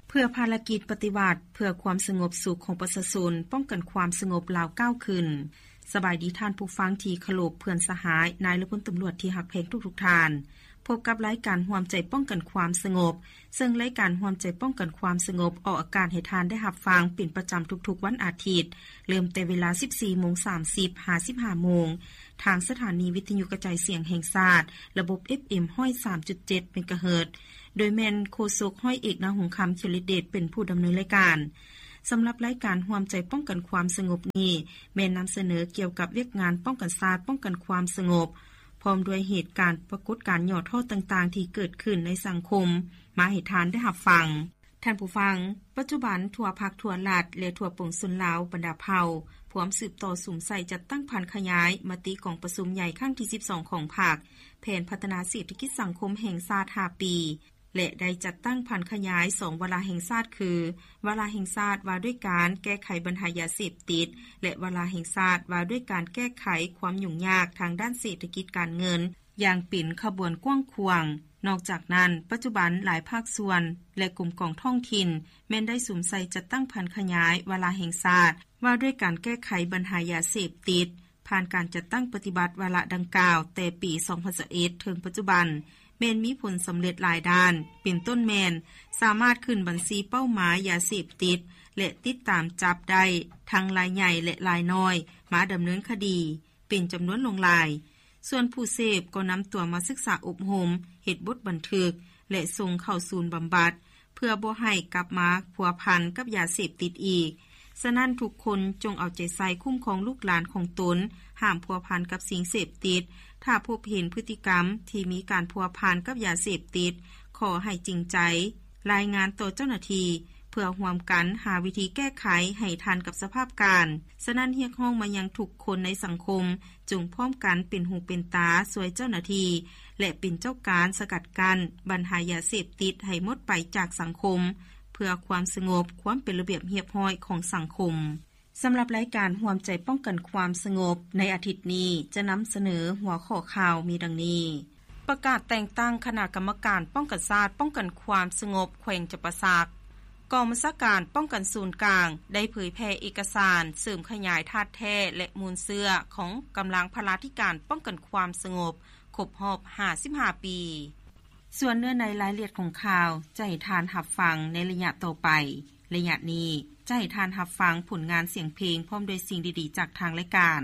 ເພື່ອພາລະກິດປະຕິວັດ ເພື່ອຄວາມສະຫງົບສຸກຂອງປະຊາຊົນ, ປ້ອງກັນຄວາມສະຫງົບ ລາວກ້າວຂຶ້ນ. ສະບາຍດີທ່ານຜູ້ຟັງທີ່ເຄົາລົບ, ເພື່ອນສະຫາຍ, ນາຍ ແລະ ພົນຕຳຫຼວດທີ່ຮັກແພງທຸກໆທ່ານ. ພົບກັບລາຍການຮ່ວມໃຈປ້ອງກັນຄວາມສະຫງົບ, ເຊິ່ງລາຍການຮ່ວມໃຈປ້ອງກັນຄວາມສະຫງົບ ອອກອາກາດໃຫ້ທ່ານໄດ້ຮັບຟັງເປັນປະຈຳທຸກໆວັນອາທິດ, ເລີ່ມແຕ່ເວລາສິບສີ່ໂມງສາມສິບ ຫາສິບຫ້າໂມງ ທາງສະຖານີວິທະຍຸກະຈາຍສຽງແຫ່ງຊາດ ລະບົບ ເອັຟເອັມ ຮ້ອຍສາມຈຸດເຈັດ ເມກາເຮີດ ໂດຍແມ່ນໂຄສົກ ຮ້ອຍເອກ ນາຫົງຄຳ ເຂດລິດເດດ ເປັນຜູ້ດຳເນີນລາຍການ. ສຳລັບລາຍການຮ່ວມໃຈປ້ອງກັນຄວາມສະຫງົບນີ້ ແມ່ນນຳສະເໜີກ່ຽວກັບວຽກງານປ້ອງກັນຊາດ, ປ້ອງກັນຄວາມສະຫງົບ ພ້ອມດ້ວຍເຫດການປາກົດການຫຍໍ້ທໍ້ຕ່າງໆທີ່ເກີດຂຶ້ນໃນສັງຄົມ ມາໃຫ້ທ່ານໄດ້ຮັບຟັງ. ທ່ານຜູ້ຟັງ, ປັດຈຸບັນທົ່ວພັກ, ທົ່ວລັດ ແລະ ທົ່ວປວງຊົນລາວບັນດາເຜົ່າ ພວມສືບຕໍ່ສຸມໃສ່ຈັດຕັ້ງຜັນຂະຫຍາຍມະຕິກອງປະຊຸມໃຫຍ່ຄັ້ງທີສິບສອງຂອງພັກ, ແຜນພັດທະນາເສດຖະກິດສັງຄົມແຫ່ງຊາດຫ້າປີ ແລະ ໄດ້ຈັດຕັ້ງຜັນຂະຫຍາຍສອງວາລະແຫ່ງຊາດ ຄື ວາລະແຫ່ງຊາດວ່າດ້ວຍການແກ້ໄຂບັນຫາຢາເສບຕິດ ແລະ ວາລະແຫ່ງຊາດວ່າດ້ວຍການແກ້ໄຂຄວາມຫຍຸ້ງຍາກທາງດ້ານເສດຖະກິດການເງິນ ຢ່າງເປັນຂະບວນກວ້າງຂວາງ. ນອກຈາກນັ້ນ, ປັດຈຸບັນຫຼາຍພາກສ່ວນ ແລະ ກົມກອງທ້ອງຖິ່ນ ແມ່ນໄດ້ສຸມໃສ່ຈັດຕັ້ງຜັນຂະຫຍາຍວາລະແຫ່ງຊາດ ວ່າດ້ວຍການແກ້ໄຂບັນຫາຢາເສບຕິດ, ຜ່ານການຈັດຕັ້ງປະຕິບັດວາລະດັ່ງກ່າວແຕ່ປີສອງພັນຊາວເອັດ ເຖິງປັດຈຸບັນ ແມ່ນມີຜົນສຳເລັດຫຼາຍດ້ານ, ເປັນຕົ້ນແມ່ນ ສາມາດຂຶ້ນບັນຊີເປົ້າໝາຍຢາເສບຕິດ ແລະ ຕິດຕາມຈັບໄດ້ທັງລາຍໃຫຍ່ ແລະ ລາຍນ້ອຍ ມາດຳເນີນຄະດີ ເປັນຈຳນວນຫຼວງຫຼາຍ. ສ່ວນຜູ້ເສບກໍນຳຕົວມາສຶກສາອົບຮົມ, ເຮັດບົດບັນທຶກ ແລະ ສົ່ງເຂົ້າສູນບຳບັດ ເພື່ອບໍ່ໃຫ້ກັບມາພົວພັນກັບຢາເສບຕິດອີກ. ສະນັ້ນ, ທຸກຄົນຈົ່ງເອົາໃຈໃສ່ຄຸ້ມຄອງລູກຫຼານຂອງຕົນ, ຫ້າມພົວພັນກັບສິ່ງເສບຕິດ. ຖ້າພົບເຫັນພຶດຕິກຳທີ່ມີການພົວພັນກັບຢາເສບຕິດ, ຂໍໃຫ້ຈິງໃຈ ລາຍງານຕໍ່ເຈົ້າໜ້າທີ່ ເພື່ອຮ່ວມກັນຫາວິທີແກ້ໄຂໃຫ້ທັນກັບສະພາບການ. ສະນັ້ນ, ຮຽກຮ້ອງມາຍັງທຸກຄົນໃນສັງຄົມ ຈົ່ງພ້ອມກັນເປັນຫູເປັນຕາຊ່ວຍເຈົ້າໜ້າທີ່ ແລະ ເປັນເຈົ້າການສະກັດກັ້ນບັນຫາຢາເສບຕິດໃຫ້ໝົດໄປຈາກສັງຄົມ ເພື່ອຄວາມສະຫງົບ, ຄວາມເປັນລະບຽບຮຽບຮ້ອຍຂອງສັງຄົມ. ສຳລັບລາຍການຮ່ວມໃຈປ້ອງກັນຄວາມສະຫງົບໃນອາທິດນີ້ ຈະນຳສະເໜີຫົວຂໍ້ຂ່າວມີດັ່ງນີ້: ປະກາດແຕ່ງຕັ້ງຄະນະກຳມະການປ້ອງກັນຊາດ, ປ້ອງກັນຄວາມສະຫງົບແຂວງຈຳປາສັກ. ກອງບັນຊາການປ້ອງກັນສູນກາງ ໄດ້ເຜີຍແຜ່ເອກະສານເສີມຂະຫຍາຍທາດແທ້ ແລະ ມູນເຊື້ອຂອງກຳລັງພະລາທິການປ້ອງກັນຄວາມສະຫງົບ ຄົບຮອບຫ້າສິບຫ້າປີ. ສ່ວນເນື້ອໃນລາຍລະອຽດຂອງຂ່າວ ຈະໃຫ້ທ່ານຮັບຟັງໃນໄລຍະຕໍ່ໄປ. ໄລຍະນີ້ ຈະໃຫ້ທ່ານຮັບຟັງຜົນງານສຽງເພງ ພ້ອມດ້ວຍສິ່ງດີໆຈາກທາງລາຍການ.